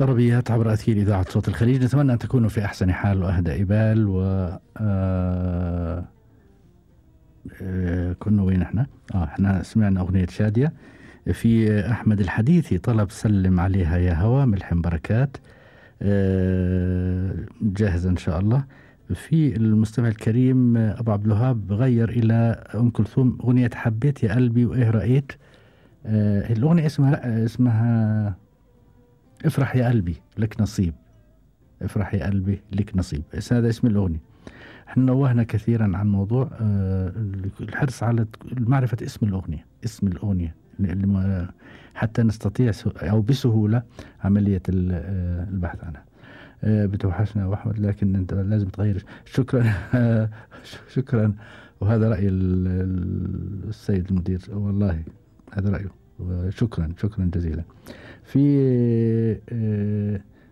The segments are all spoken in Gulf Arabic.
طربيات عبر أثير إذاعة صوت الخليج. نتمنى أن تكونوا في أحسن حال وأهدى إبال. و كنا وين احنا؟ احنا سمعنا أغنية شادية. في أحمد الحديثي طلب سلم عليها يا هوا، ملحم بركات، جاهزة إن شاء الله. في المستمع الكريم أبو عبد الوهاب غير إلى أم كلثوم أغنية حبيت يا قلبي وإيه رأيت. الأغنية اسمها افرح يا قلبي لك نصيب. افرح يا قلبي لك نصيب، هذا اسم الأغنية. احنا نوهنا كثيرا عن موضوع الحرص على معرفة اسم الأغنية، اسم الأغنية حتى نستطيع أو بسهولة عملية البحث عنها. بتوحشنا يا أحمد، لكن أنت لازم تغير. شكرا شكرا. وهذا رأي السيد المدير، والله هذا رأيه. شكرا جزيلا. في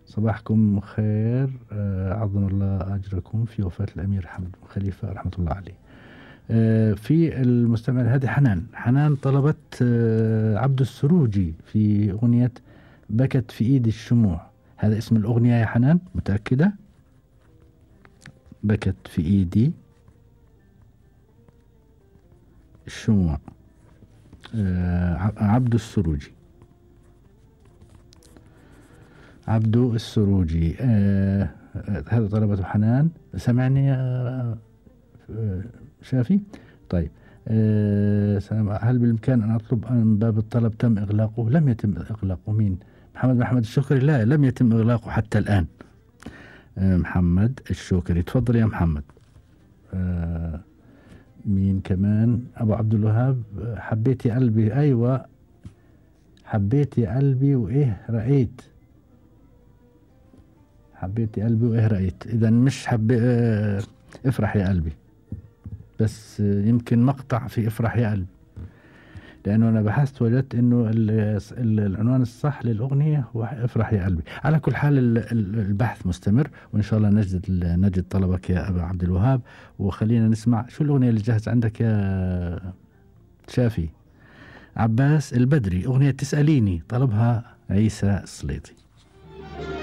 صباحكم خير، عظم الله أجركم في وفاة الأمير حمد بن خليفة رحمة الله عليه. في المستمع هذه حنان طلبت عبد السروجي في أغنية بكت في إيدي الشموع. هذا اسم الأغنية يا حنان؟ متأكدة؟ بكت في إيدي الشموع، عبد السروجي. هذا طلبته حنان. سمعني يا شافي؟ طيب. هل بالإمكان أن أطلب أن باب الطلب تم إغلاقه؟ لم يتم إغلاقه. مين؟ محمد الشكري؟ لا، لم يتم إغلاقه حتى الآن. محمد الشكري، تفضل يا محمد. مين كمان؟ أبو عبد الوهاب، حبيت يا قلبي. أيوة، حبيت يا قلبي وإيه رأيت. حبيت يا قلبي وإيه رأيت. إذا مش افرح يا قلبي، بس يمكن مقطع في افرح يا قلبي، لأنه أنا بحثت وجدت أنه العنوان الصح للأغنية هو افرح يا قلبي. على كل حال البحث مستمر، وإن شاء الله نجد طلبك يا أبا عبد الوهاب. وخلينا نسمع شو الأغنية اللي جاهز عندك يا شافي. عباس البدري، أغنية تسأليني، طلبها عيسى السليطي.